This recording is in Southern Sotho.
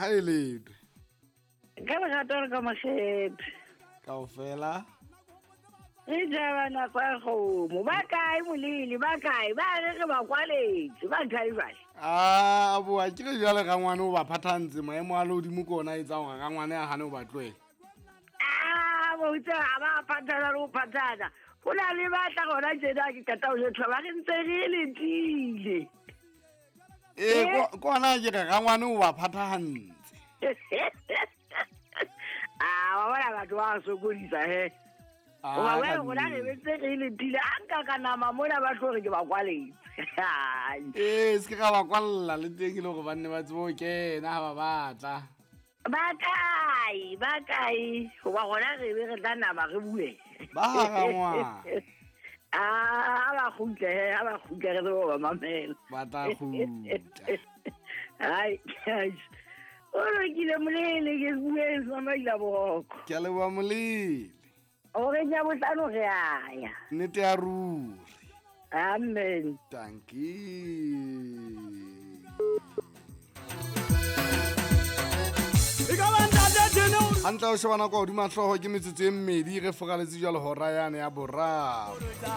Ha e letwe. Ka lerato le ka makgethe. Kaofela. Re jaba nako ya kgomo. Ba kae molele, ba kae? Ba re re ba kwaletse. Ba kae jwale? A boa ke re jwale rangwane o ba phathantse maemo a lehodimo ke ona a etsang hore rangwane a hane ho ba tlohela. A bo itse ha ba phathana le ho phathana. Ho na le ba tla gona tjena ke qeta ho jwetsa ba re ntse re letile. Ee, ko ona ke re rangwane o ba phathahantse. A wa bona batho ba sokodisa he. Hoba jwale rona re betse re letile a nka ka nama mona ba tlo re ke ba kwaletse. Ee, se ke ra ba kwalla le teng e le hore ba nne ba tsebe ho kena ha ba batla. Ba kae, ba kae? Hoba rona re be re tla nama re bue. Ba ha rangwane. A ba kgutle he, ha ba kgutle re tsebe ho ba mamela. Ba tla kgutla. Hai, o lokile molele ke bue mamaila boroko. Ke a leboha molele. O re ja bohlano re a ya. Nnete ya ruri. Amen. Dankie. Hantle o shebana kwa hodima hlooho ke metsotso e mmedi re foraletse jwalo hora yane ya boraro.